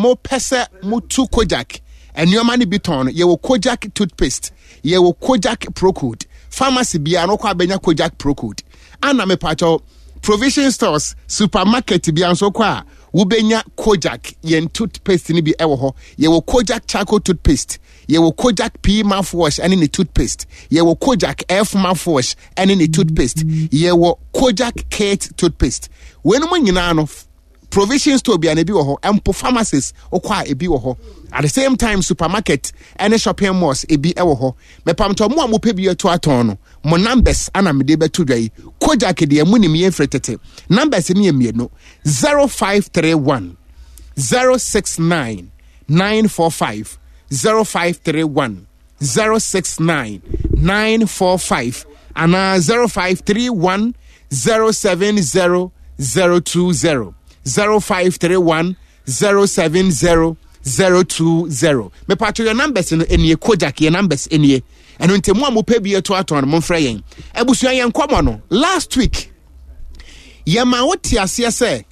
mopɛ sɛ motu Kojak nneɛma no bi tɔn no, yɛwɔ Kojak toothpaste, yɛwɔ Kojak Procode. Pharmacy biara no kɔ abɛnya Kojak Procode. Ana mepatwɔ provision stores, supermarket biara nso kɔ a wobɛnya Kojak yɛn toothpaste no bi wɔ hɔ. Yɛwɔ Kojak charcoal toothpaste, yɛwɔ Kojak P mouthwash ɛne ne toothpaste, yɛwɔ Kojak F mouthwash ɛne ne toothpaste, yɛwɔ Kojak Kate toothpaste. Weinom nyinaa no, provision store bia na ebi wɔ hɔ, mpo pharmacies wokɔ a ebi wɔ hɔ, at the same time supermarket ɛne shopping malls ebi wɔ hɔ. Mepamtɔ mo a mopɛ bi ato atɔn no, mo numbers ana mede bɛto dwa yi. Kojak deɛ mo nim yɛn firi tete. Numbers no yɛ mmienu: 0531 069 945, 0531 069 945 anaa 0531 070 020, 0531 070 020. Mepatwo yɛ numbers no nie. Kojak yɛ numbers nie. Ɛno nti mo a mopɛ bi ato atɔn no, momfrɛ yɛn. Abusua, yɛn nkɔmmɔ no last week, yɛma wote aseɛ sɛ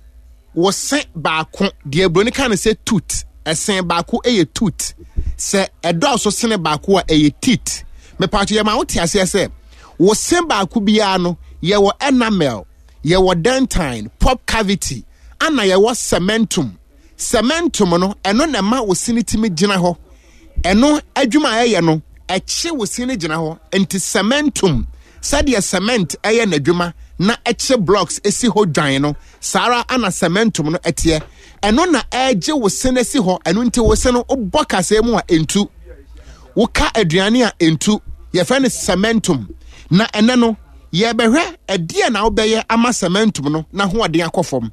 wo se baako deɛ, buroni ka no sɛ tooth, ɛsen baako yɛ tooth, sɛ ɛdɔɔso sene baako a ɛyɛ teeth. Mepatwo yɛma wote aseɛ sɛ wo se baako biara no, yɛwɔ enamel, yɛwɔ dentine, pulp cavity, ana yɛwɔ cementum. Cementum no, ɛno na ɛma wo se no tumi gyina hɔ. Ɛno adwuma a ɛyɛ no, ɛkye wo se no gyina hɔ. Nti cementum, sɛdeɛ cement ɛyɛ n'adwuma na ɛkye blocks esi hɔ dwan no, saa ara ana cementum no ɛteɛ. Ɛno na ɛgye wo se no asi hɔ. Ɛno nti wo se no, wobɔ kaseɛ mu a ɛntu, woka aduane a ɛntu. Yɛfrɛ no cementum. Na ɛnɛ no yɛbɛhwɛ ɛdeɛ na wobɛyɛ ama cementum no n'ahoɔden akɔ fam.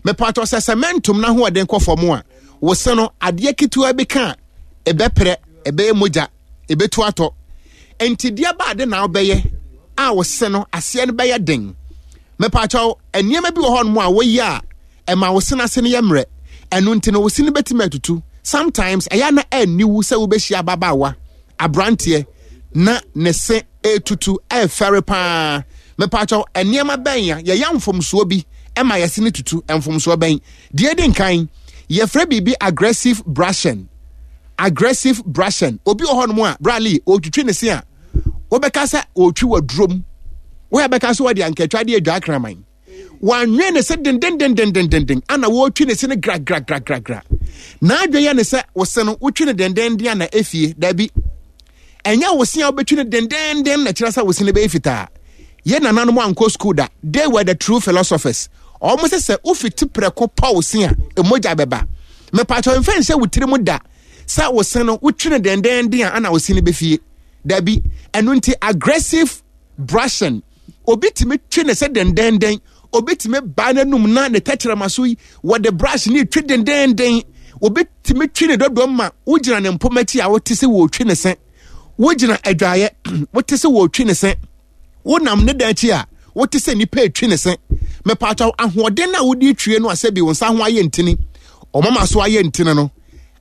Mepatɔ sɛ cementum n'ahoɔden kɔ fam a, wo se no, adeɛ ketewa bi ka a, ɛbɛprɛ, ɛbɛyɛ mogya, ɛbɛtu atɔ. Nti deɛ baade na wobɛyɛ a wo se no aseɛ no bɛyɛ den? Mepatɔ nneɛma bi wɔ hɔnom a woyɛ a ɛma wo se no ase no yɛ mmerɛ. Ɛno nti no wo se no bɛtumi atutu. Sometimes ɛyɛ na ɛnni sɛ wobɛhyia ababaawa, aberanteɛ na ne se etutu, ɛfɛre paa. Mepatɔ nneɛma bɛn a yɛyɛ mfomsoɔ bi ɛma yɛse no tutu? Mfomsoɔ bɛn? Deɛ di nkan, yɛfrɛ biribi aggressive brushing. Aggressive brushing, obi wɔ hɔnom a brali ɔtwitwi ne se a, wobɛka sɛ ɔtwi wɔ durom, woyɛ bɛka sɛ wɔde ankatwa de adwa akraman. Wanwe ne se dendendendendenden ana wɔretwi ne se no gragragragragra. N'adwe yɛ ne sɛ wo se no wotwi no dendenden ana efie. Dabi, ɛnyɛ wo se a wobɛtwi no dendenden na kyerɛ sɛ wo se no bɛyɛ fitaa. Yɛ nananom ankɔ school da, they were the true philosophers. Ɔmo sɛ wofiti prɛko pa wo se a, emogya bɛba. Mepatɔ mfɛn sɛ wo tiri mu da sɛ wo se no wotwi no dendenden a ana wo se no bɛfie. Dabi. Ɛno nti aggressive brushing, obi tumi twe ne sɛ dendenden, obi tumi baa n'anum na ne tɛkyerɛma so yi wɔde brush ne twe dendenden, obi tumi twe ne dɔdɔm ma wogyina ne mpoma akyi a wote sɛ wɔretwe ne se, wogyina adwaeɛ wote sɛ wɔretwe ne se, wonam ne dan akyi a wote sɛ nipa etwi ne se. Mepatwa ahoɔden na wode twie no asɛ bi wo nsa ho ayɛ ntini, ɔmama so ayɛ ntini no,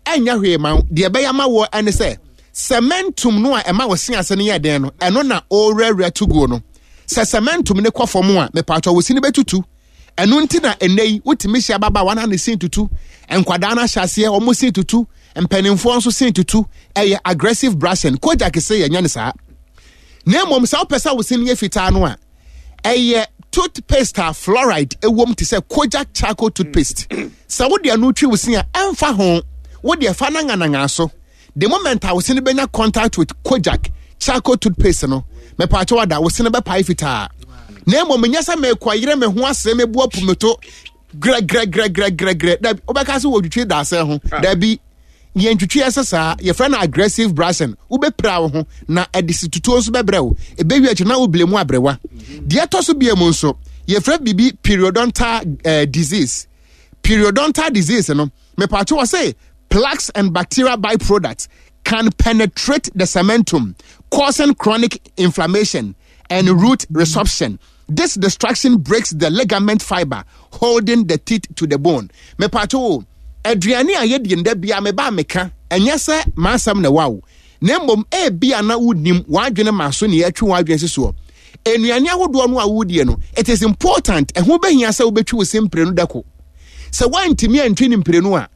ɛnyɛ hwee ma wo. Deɛ ɛbɛyɛ ama wɔ ɛne sɛ cementum no a ɛma wo se ase no yɛ den no, ɛno na ɔrewurawura to guo no. Sɛ cementum no kɔ fam a, mepatwa wo se no bɛtutu. Ɛno nti na ɛnɛ yi wotumi hyɛ ababaawa na ne sin tutu, nkwadaa no ahyɛ aseɛ wɔn sin tutu, mpanimfoɔ nso sin tutu. Ɛyɛ aggressive brushing. Kojak se yɛnyɛ ne saa, na mmom sɛ wopɛ sɛ wo sin yɛ fitaa no a, ɛyɛ toothpaste a fluoride ɛwom te sɛ Kojak charcoal toothpaste. Sɛ wode ano twi wo sin a, ɛmfa ho, wode ɛfa no ngananga so, the moment a wo sin bɛnya contact with Kojak charcoal toothpaste no, mepaakyɛw ada wo sin bɛpae fitaa. Na mmom nyɛ sɛ mekɔyere me ho ase meboa pumeto grɛgrɛgrɛgrɛgrɛ. Dabi, wobɛka sɛ wɔtwitwi daasɛ ho. Dabi, yɛntwitwi ɛsɛ saa. Yɛfrɛ no aggressive brushing. Wobɛpira wo ho na ɛde si tutuo nso bɛbrɛ wo. Ɛbɛwi akyi na wobile mu abrɛwa. Deɛ ɛtɔ so bia mu nso, yɛfrɛ biribi periodontal disease. Periodontal disease no, mepatwo wɔ sɛ plaques and bacterial byproducts can penetrate the cementum, causing chronic inflammation and root resorption. This destruction breaks the ligament fiber holding the teeth to the bone. Mepatwo, aduane a yɛdi nda bia meba meka, ɛnyɛ sɛ m'asɛm na ɛwɔ wo, na mmom ebia na wonim w'adwene ma so ne yɛatwe w'adwene si soɔ. Nnuane ahodoɔ no a wodie no, it is important, ɛho bɛhia sɛ wobɛtwi wo se mprenu dako. Sɛ woantumi antwi ne mprenu a